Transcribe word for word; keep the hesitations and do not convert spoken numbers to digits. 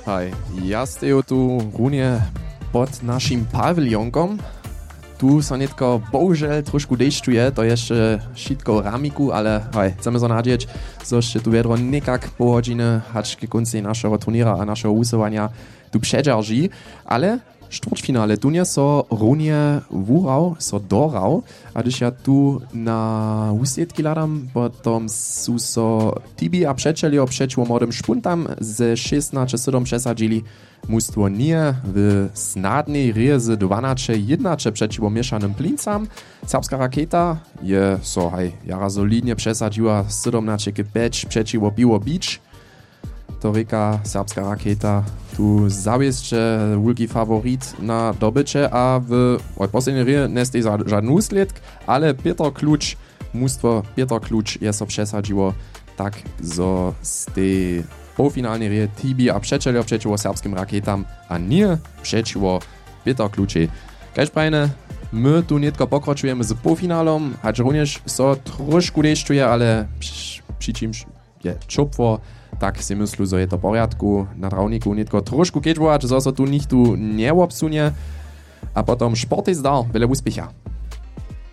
Haj, ja steju tu runje pod našim pawiljonkom. Tu so nětko bohužel trošku dešćuje, to je jeszcze wšitko w ramiku, ale haj, chcemy so nadźeć, zo sće tu wjedro někak pohodźiny hač k kóncej našeho turněra a našeho wusyłanja tu předźerži. Ale štwórtfinale tu nje so runje wuhrał, so dohrał. A hdyž ja tu na wuslědki hladam, potom su so Tibi a přećeljo přećiwo Młodym Špuntam ze šěsnaće sydom přesadźili. Mustwo Nije w snadnej rězy dwanaće jědnaće přećiwo Měšanym Plincam. Serbska Raketa je so haj jara solidnje přesadźiła, sydomnaće k pjeć přećiwo Piwo Beach. To rěka Serbska Raketa tu zawěsće wulki faworit na dobyće a w wot poslednjej rěje njesteji za žadny wuslědk, ale Pětr Kluč, mustwo Pětr Kluč je so přesadźiło, tak zo z tej połfinalnej rěje Tibi a přećeljo přećiwo Serbskim Raketam a Nije přećiwo Pětr Klučej. Kaž prajene, my tu nětko pokročujemy z połfinalom, hač runjež so trošku dešćuje, ale při, při čimž je ćopło, tak sej myslu, zo je to w porjadku. Na trawniku nětko trošku kedźbować, zo so tu nichtó njewobsunje. A potom sportej zdar, wjele wuspěcha.